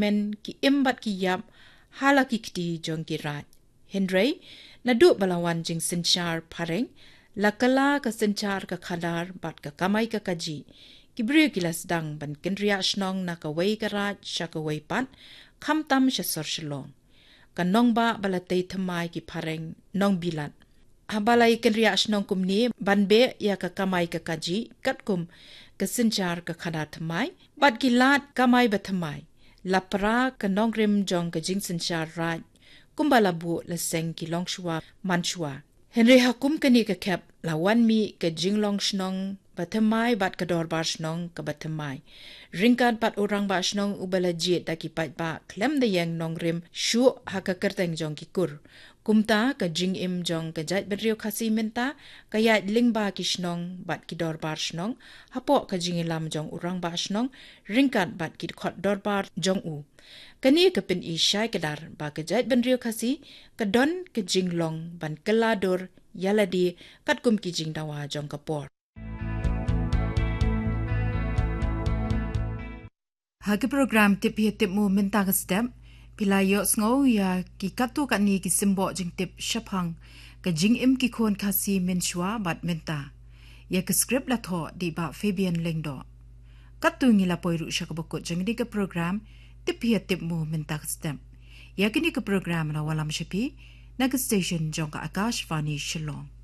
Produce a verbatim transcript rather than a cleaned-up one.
men ki im bad ki ïap ha la ki kti jong ki raid. Hynrei naduh ba la wan jingsynshar phareng, la kylla ka synshar ka khadar bad ka kamai ka kajih. Ki briew ki la sdang ban kynriah shnong na kawei ka raid sha kawei pat, khamtam sha sor Shillong. Ka nongbah ba la tei thymmai ki phareng nongbilat. Haba la ïakynriah shnong kumne ban beh ïa ka kamai ka kajih katkum ka synshar ka khadar thymmai bad ki lad kamai ba thymmai, la pra ka nongrim jong ka jingsynshar raid, kumba la buh la seng ki longshuwa manshuwa. Hynrei ha kum kane ka khep la wan mih ka jinglong shnong ba thymmai bad ka dorbar shnong kaba thymmai. Ryngkat bad u rangbah shnong uba la jied da ki paidbah khlem da ïeng nongrim shuh ha ka kyrteng jong ki kur. Kumta ka jingim jong ka jaitbynriew Khasi mynta ka ïaid lyngba ki shnong bad ki dorbar shnong, hapoh ka jingïalam jong u rangbah shnong ryngkat bad ki khot dorbar jong u. Kane ka pyni shai kdar ba ka jaitbynriew Khasi ka don ka jinglong ban kylla dur ïa lade katkum ki jingdawa jong ka por. Ha ki program Tip Hi Tip Mu mynta ka step, phi la ïohsngew ïa ki katto katne ki symboh jingtip shaphang ka jingim ki khun Khasi mynshuwa bad mynta. Ïa ka script la thoh da i Bah Fabian Lyngdoh. Katto ngi la poi ruh sha kaba kut jong kane ka program Tip Hi Tip Mu mynta ka step. Ïa kane ka program la wallam sha phi na ka station jong ka Akashvani Shillong.